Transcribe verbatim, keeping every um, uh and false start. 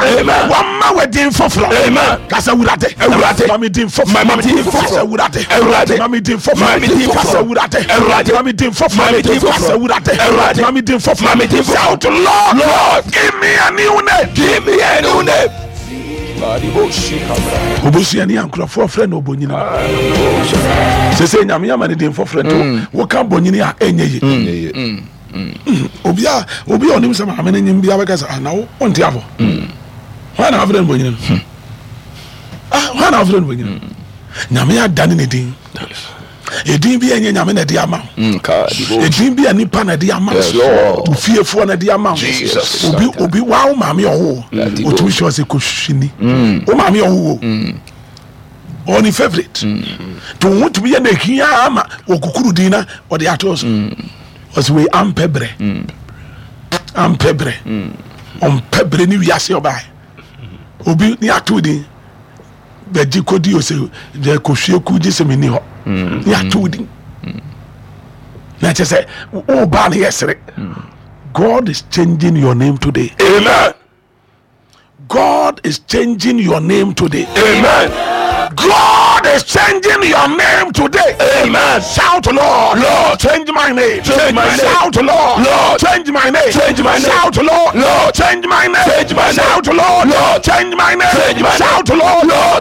nsa. Amen. Wɔma wɔ din foforɔ. Amen. Kasa Awurade. Awurade. Ma me din foforɔ. Ma me din foforɔ. Kasa Awurade. Awurade. Ma me din foforɔ. Ma me din foforɔ. Kasa Awurade. Awurade. Ma me din foforɔ. Ma me din foforɔ. Kasa Awurade. Awurade. Ma me din foforɔ. Ma me din foforɔ. Shout, Lord. Lord. Give me a new name. Give me a new name. Obusuani a nkurɔfoɔ frɛ no Obonyini sɛ sɛ Nyame ama ne din foforɔ nti woka bonyini a, ɛnyɛ ye. Obi a obi a ɔnim sɛ maame no nyim bia bɛka sɛ, "Ah, na wo wonte afɔ hwan na afrɛ no bonyini no? Ah, hwan na afrɛ no bonyini no?" Nyame adane ne din. Ɛdin bi a ɛnyɛ Nyame na ɛde ama wo, ɛdin bi a nipa na ɛde ama Yes, wo, Lord. wo fiefoɔ na ɛde ama wo. Jesus. obi obi wa wo maame ɔwo, ɔtumi hyɛ ɔsɛ kɔhwini wo maame ɔwo wo ɔne favourite nti wo ho tumi yɛ na ɛhia ama wɔkukuru din na ɔde ato so. Ɔsɛ wei ampɛ berɛ, ampɛ berɛ, ɔmpɛ berɛ ne wiase. Ɔbae obi ne ato din bɛgye kɔdi o sɛ deɛ kɔhwie ku gye sɛ menni hɔ ne ato din na kyɛ sɛ wobaa no yɛ sere. God is changing your name today. Amen. God is changing your name today. Amen. God is changing your name today. Amen. Shout, Lord. Lord. Change my name. Change my name. Shout, Lord. Lord. Change my name. Change my name. Shout, Lord. Lord. Change my name. Change my name. Shout, Lord. Lord. Change my name. Change my name. Shout, Lord. Lord.